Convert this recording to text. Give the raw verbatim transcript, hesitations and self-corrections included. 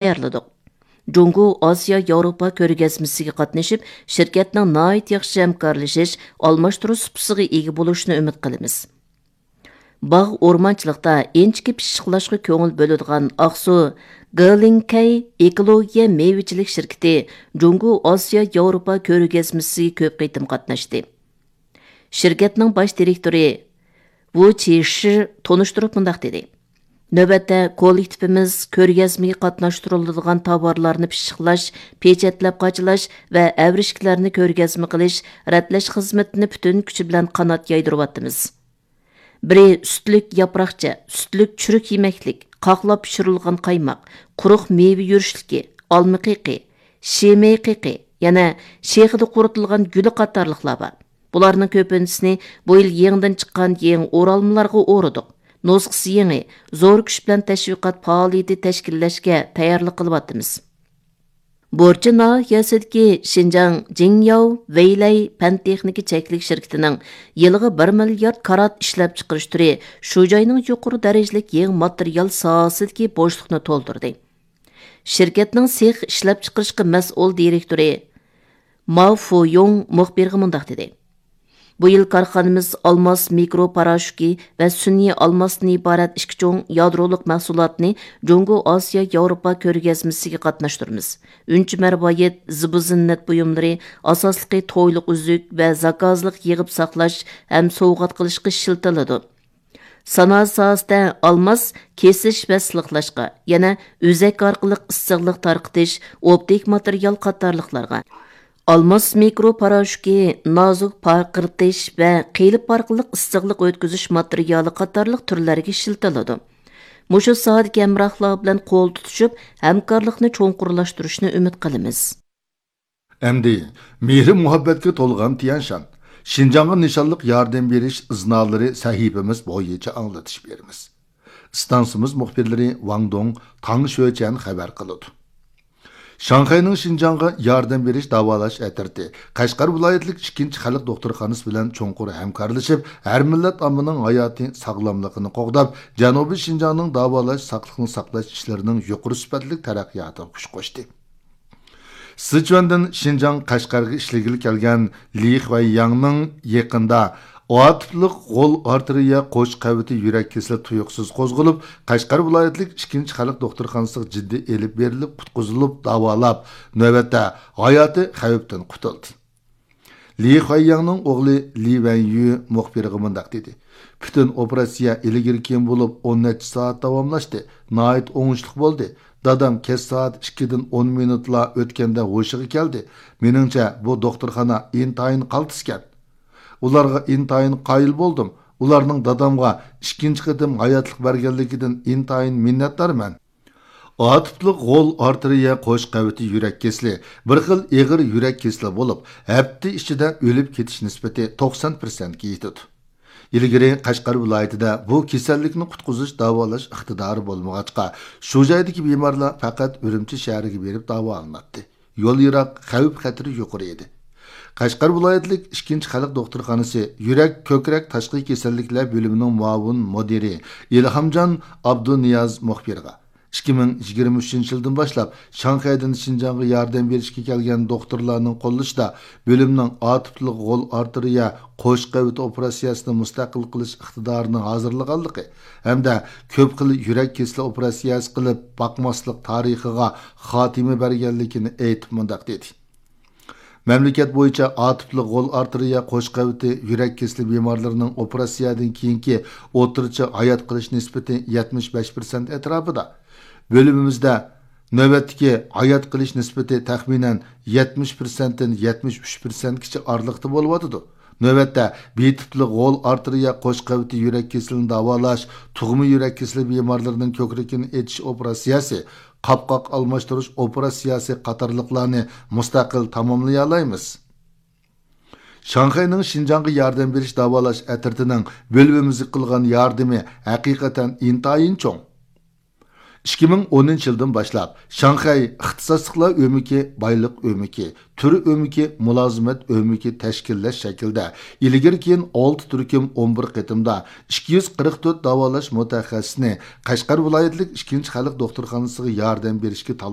تەييارلىدۇق. جۇڭگو ئاسىيا ياۋروپا كۆرگەزمىسىگە قاتنىشىپ، شىركەتنىڭ ناھايىتى ياخشى ھەمكارلىشىش، ئالماشتۇرۇش سۇپىسىغا ئىگە بولۇشىنى ئۈمىد قىلىمىز. باغ ئورمانچىلىقتا ئىنچىكە پىششىقلاشقا كۆڭۈل بۆلىدىغان ئاقسۇ گېلىڭكەي ئېكولوگىيە مېۋىچىلىك شىركىتى جۇڭگو ئاسىيا ياۋروپا كۆرگەزمىسىگە كۆپ قېتىم قاتناشتى. شىركەتنىڭ باش دىرېكتورى ۋۇ چىشى تونۇشتۇرۇپ مۇنداق دېدى: نۆۋەتتە كوللېكتىپىمىز كۆرگەزمىگە قاتناشتۇرۇلىدىغان تاۋارلارنى پىششىقلاش، پېچەتلەپ قاچىلاش ۋە ئەۋرىشكىلەرنى كۆرگەزمە قىلىش، رەتلەش خىزمىتىنى پۈتۈن كۈچى بىلەن قانات يايدۇرۇۋاتىمىز. بىرى سۈتلۈك ياپراقچە، سۈتلۈك چۈرۈك يېمەكلىك، قاقلاپ پىشۇرۇلغان قايماق، قۇرۇق مېۋە يۈرۈشلۈكى، ئالما قېقى، شىمەي قېقى، يەنە شېخىدا قۇرۇتۇلغان گۈلى قاتارلىقلار بار. بۇلارنىڭ كۆپىنچىسىنى بۇ يىل يېڭىدىن چىققان يېڭى ئورالمىلارغا ئورىدۇق. نۇسخىسى يېڭى، زور كۈچ بىلەن تەشۋىقات پائالىيىتى تەشكىللەشكە تەييارلىق قىلىۋاتىمىز. بورچى ناھىيەسىدىكى شىنجاڭ جىڭياۋ ۋېيلەي پەن تېخنىكا چەكلىك شىركىتىنىڭ يىلىغا بىر مىليارد كارات ئىشلەپچىقىرىش تۈرى شۇ جاينىڭ يۇقىرى دەرىجىلىك يېڭى ماتېرىيال ساھەسىدىكى بوشلۇقنى تولدۇردى. شىركەتنىڭ سېخ ئىشلەپچىقىرىشقا مەسئۇل دىرېكتورى ماۋ فۇيۇڭ مۇخبىرغا مۇنداق دېدى: بۇ يىل كارخانىمىز ئالماس مىكرو پاراشوكى ۋە سۈنئىي ئالماستىن ئىبارەت ئىككى چوڭ يادرولۇق مەھسۇلاتنى جۇڭگو ئاسىيا ياۋروپا كۆرگەزمىسىگە قاتناشتۇرىمىز. ئۈنچە مەرۋايىت، زىبۇ زىننەت بۇيۇملىرى، ئاساسلىقى تويلۇق ئۈزۈك ۋە زاكازلىق يىغىپ ساقلاش ھەم سوۋغات قىلىشقا ئىشلىتىلىدۇ. سانائەت ساھەسىدە ئالماس كېسىش ۋە سىلىقلاشقا، يەنە ئۈزەك ئارقىلىق ئىسسىقلىق تارقىتىش، ئوپتىك ماتېرىيال قاتارلىقلارغا، ئالماس مىكرو پاراشوكى نازۇك پارقىرىتىش ۋە قېلىپ ئارقىلىق ئىسسىقلىق ئۆتكۈزۈش ماتېرىيالى قاتارلىق تۈرلەرگە ئىشلىتىلىدۇ. مۇشۇ ساھەدىكى ھەمراھلار بىلەن قول تۇتۇشۇپ، ھەمكارلىقنى چوڭقۇرلاشتۇرۇشنى ئۈمىد قىلىمىز. ئەمدى مېھرى مۇھەببەتكە تولغان تيەنشان، شىنجاڭغا نىشانلىق ياردەم بېرىش ئىزنالىرى سەھىپىمىز بويىچە ئاڭلىتىش بېرىمىز. ئىستانسىمىز مۇخبىرلىرى ۋاڭ دۇڭ، تاڭ شۆچەن خەۋەر قىلىدۇ. شاڭخەينىڭ شىنجاڭغا ياردەم بېرىش داۋالاش ئەترىتى قەشقەر ۋىلايەتلىك ئىككىنچى خەلق دوختۇرخانىسى بىلەن چوڭقۇر ھەمكارلىشىپ، ھەر مىللەت ئاممىنىڭ ھاياتىي ساغلاملىقىنى قوغداپ، جەنۇبىي شىنجاڭنىڭ داۋالاش، ساقلىقنى ساقلاش ئىشلىرىنىڭ يۇقىرى سۈپەتلىك تەرەققىياتىغا كۈچ قوشتى. سىچۈەندىن شىنجاڭ قەشقەرگە ئىشلىگىلى كەلگەن لى خۇەيياڭنىڭ يېقىندا ئاتوپلۇق غول ئارتېرىيە قوش قەۋىتى يۈرەك كېسىلى تۇيۇقسىز قوزغىلىپ، قەشقەر ۋىلايەتلىك ئىككىنچى خەلق دوختۇرخانىسىغا جىددىي ئېلىپ بېرىلىپ، قۇتقۇزۇلۇپ، داۋالاپ، نۆۋەتتە ھاياتى خەۋپتىن قۇتۇلدى. لى خۇەيياڭنىڭ ئوغلى لى ۋەنيۈ مۇخبىرغا مۇنداق دېدى: پۈتۈن ئوپېراتسىيە ئىلگىرى كېيىن بولۇپ، ئون نەچچە سائەت داۋاملاشتى. ناھايىتى ئوڭۇشلۇق بولدى. دادام كەچ سائەت ئىككىدىن ئون مىنۇتلا ئۆتكەندە ھوشىغا كەلدى. مېنىڭچە، بۇ دوختۇرخانا ئىنتايىن قالتىسكەن. ئۇلارغا ئىنتايىن قايىل بولدۇم. ئۇلارنىڭ دادامغا ئىككىنچى قېتىم ھاياتلىق بەرگەنلىكىدىن ئىنتايىن مىننەتدارمەن. ئاتوپلۇق غول ئارتېرىيە قوش قەۋىتى يۈرەك كېسىلى بىر خىل ئېغىر يۈرەك كېسىلى بولۇپ، ھەپتە ئىچىدە ئۆلۈپ كېتىش نىسبىتى توقسان پىرسەنتكە يېتىدۇ. ئىلگىرى قەشقەر ۋىلايىتىدە بۇ كېسەللىكنى قۇتقۇزۇش، داۋالاش ئىقتىدارى بولمىغاچقا، شۇ جايدىكى بىمارلار پەقەت ئۈرۈمچى شەھىرىگە بېرىپ داۋالىناتتى. يول يىراق، خەۋپ خەتىرى يۇقىرى ئىدى. قەشقەر ۋىلايەتلىك ئىككىنچى خەلق دوختۇرخانىسى يۈرەك، كۆكرەك تاشقى كېسەللىكلەر بۆلۈمىنىڭ مۇئاۋىن مۇدىرى ئىلھامجان ئابدۇنىياز مۇخبىرغا، ئىككى مىڭ يىگىرمە ئۈچىنچى يىلدىن باشلاپ شاڭخەيدىن شىنجاڭغا ياردەم بېرىشكە كەلگەن دوختۇرلارنىڭ قوللىشىدا بۆلۈمنىڭ ئاتوپلۇق غول ئارتېرىيە قوش قەۋىتى ئوپېراتسىيەسىنى مۇستەقىل قىلىش ئىقتىدارىنى ھازىرلىغانلىقى ھەمدە كۆپ خىل يۈرەك كېسىلى ئوپېراتسىيەسى قىلىپ باقماسلىق تارىخىغا خاتىمە بەرگەنلىكىنى ئېيتىپ مۇنداق دېدى: مەملىكەت بويىچە ئاتوپلۇق غول ئارتېرىيە قوش قەۋىتى يۈرەك كېسىلى بىمارلىرىنىڭ ئوپېراتسىيەدىن كېيىنكى ئوتتۇرىچە ھايات قېلىش نىسبىتى يەتمىش بەش پىرسەنت ئەتراپىدا. بۆلۈمىمىزدە نۆۋەتتىكى ھايات قېلىش نىسبىتى تەخمىنەن يەتمىش پىرسەنتتىن يەتمىش ئۈچ پىرسەنتكىچە ئارىلىقتا بولۇۋاتىدۇ. نۆۋەتتە بىر تىپلىق غول ئارتېرىيە قوش قەۋىتى يۈرەك كېسىلىنى داۋالاش، تۇغما يۈرەك كېسىلى بىمارلىرىنىڭ كۆكرىكىنى ئېچىش ئوپېراتسىيەسى، قاپقاق ئالماشتۇرۇش ئوپېراتسىيەسى قاتارلىقلارنى مۇستەقىل تاماملىيالايمىز. شاڭخەينىڭ شىنجاڭغا ياردەم بېرىش داۋالاش ئەترىتىنىڭ بۆلۈمىمىزگە قىلغان ياردىمى ھەقىقەتەن ئىنتايىن چوڭ. ئىككى مىڭ ئونىنچى يىلدىن باشلاپ، شاڭخەي ئىختىساسلىقلار ئۆمىكى، بايلىق ئۆمىكى، تۈر ئۆمىكى، مۇلازىمەت ئۆمىكى تەشكىللەش شەكلىدە ئىلگىرى كېيىن ئالتە تۈركۈم ئون بىر قېتىمدا ئىككى يۈز قىرىق تۆت داۋالاش مۇتەخەسسىسىنى قەشقەر ۋىلايەتلىك ئىككىنچى خەلق دوختۇرخانىسىغا ياردەم بېرىشكە تاللاندى.